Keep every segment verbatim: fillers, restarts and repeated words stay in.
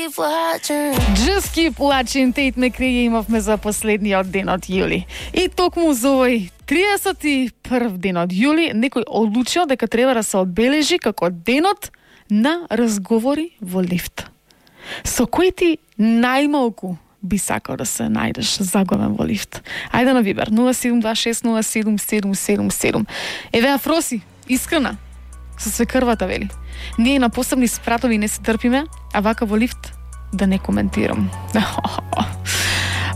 Just keep watching, Tate McRae имавме за последниот ден од јули. И токму за овој триесет и прв ден од јули некој одлучил дека треба да се одбележи како денот на разговори во лифт. Со кој ти најмалку би сакал да се најдеш заглавен во лифт? Ајде на Вибер нула седум два шест нула седум седум седум седум. Еве Афроси, искрена, со све крвата вели. Ние на посебни спратови не се трпиме, а вака во лифт да не коментирам.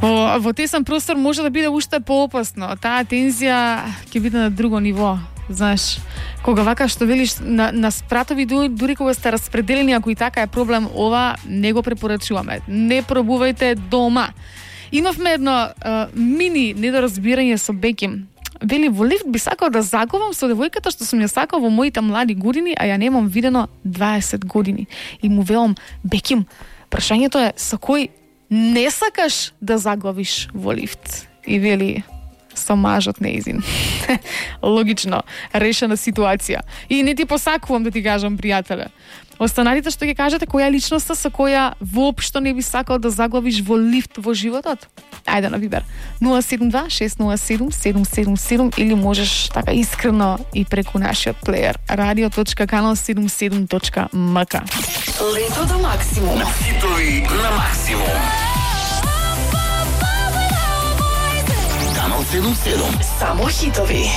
Во, во тесен простор може да биде уште поопасно. Таа тензија ќе биде на друго ниво. Знаеш, кога вака што велиш на, на спратови, дури кога сте распределени, ако и така е проблем, ова не го препорачуваме. Не пробувајте дома. Имавме едно а, мини недоразбирање со Беким. Вели, во лифт би сакал да заговам со девојката што сум ја сакал во моите млади години, а ја немам видено дваесет години. И му велам, Беким, прашањето е со кој не сакаш да заглавиш во лифт? И вели, со мажот неизин. Логично, решена ситуација. И не ти посакувам да ти кажам, пријателе. Останалите што ќе кажете, која е личноста со која воопшто не би сакал да заглавиш во лифт во животот? Ајде на Вибер нула седум два шест нула седум седум седум седум или можеш така искрено и преку нашиот плеер радио точка канал седумдесет и седум точка ем ка. Лето до максимум. Хитови на максимум. Канал седумдесет и седум. Само хитови.